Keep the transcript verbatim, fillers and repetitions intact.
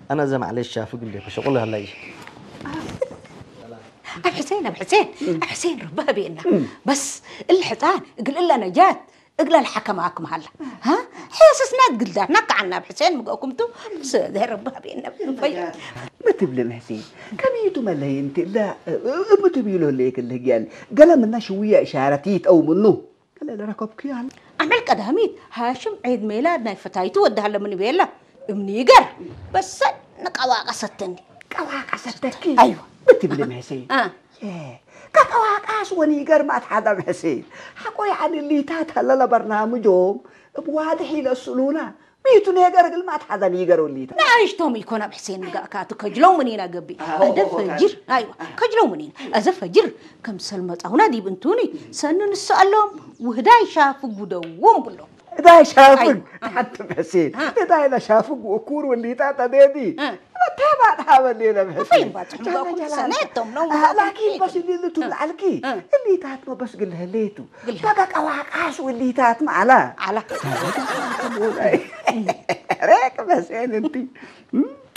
አነ እዘ ማዕሌሽ ሻፍግ እንዴ ከሸቁል ሀላይ። አብ ሕሴን፣ አብ ሕሴን፣ አብ ሕሴን ርቢ ሀቤና። በስ እሊ ሕጻን እግል እለ ነጃት እግለ ለሐከማክም ሀለ። ሀ? ሔስስና እግል ዳርና ከዐና አብ ሕሴን ምግአኩም ቱ። በስ እዘ ርቢ ሀቤና። ፈዩ። ምን ትብልን ሕሴን? ከሚቱ መለይ እንቲ እለ እብ ትብይሎ ህሌክ እለ ህግያል ገለ ምና ሽውየ እሻረት ይትአው ምኑ። ከለ ለረከብኩ ያህል። አመል ቀዳሚት፣ ሃሽም ዒድ ሜላድ ናይ ፈታይቱ ወድሃለ ምን ቤለ፣ እምኒ ይገር፣ በሰ ንቀዋቀሰትኒ። ቀዋቀሰተኪ? አይወ። ብትብሊ መሕሴን። አ። የ፣ ከቀዋቃስ ወኒገር ማት ሐዳም ሕሴን። ሐቆ ያኒ ሊታት ሀለ ለበርናምጆም እብ ዋድሕ ኢለስእሉና። ሚቱ ኔገር እግል ማት ሐዘ ኒገር ወሊተ። ነአይሽቶም ኢኮን አብ ሕሴን ንጋእካቱ ከጅለው ምኒነ ገብእ። አዎ፣ አዘ አዎ፣ ፈጅር፣ አዎ። አይዋ፣ ከጅለው ምኒነ። አዘ ፈጅር ከምሰል መጻሁና ዲብ እንቱኒ ሰኒ ንሰአሎም ወህዳይ ሻፍግ ውደዎም ብሎ። ህዳይ ሻፍግ፣ አይ፣ አይ። ተሐትብ ሕሴን። አ። ህዳይ ለሻፍግ ወኩር ወሊታ ተዴዲ። አ። መተባጥ ሀበሌ ለብሕሴን። ፈይም ባጽሕ ጀለ ሙጋኩም ጀላል። ሰኔ እቶም ነው አ፣ ሙጋኩም ላኪን ፊት። በስ እሊ ልቱ አ። ለዐልኪ። አ። እሊታትመ በስ ግልህ ሌቱ። ግልህ። በቀ ቀዋቃስ ወሊታትመ ዐላ። ዐላ። ሬቅ በሴን እንቲ።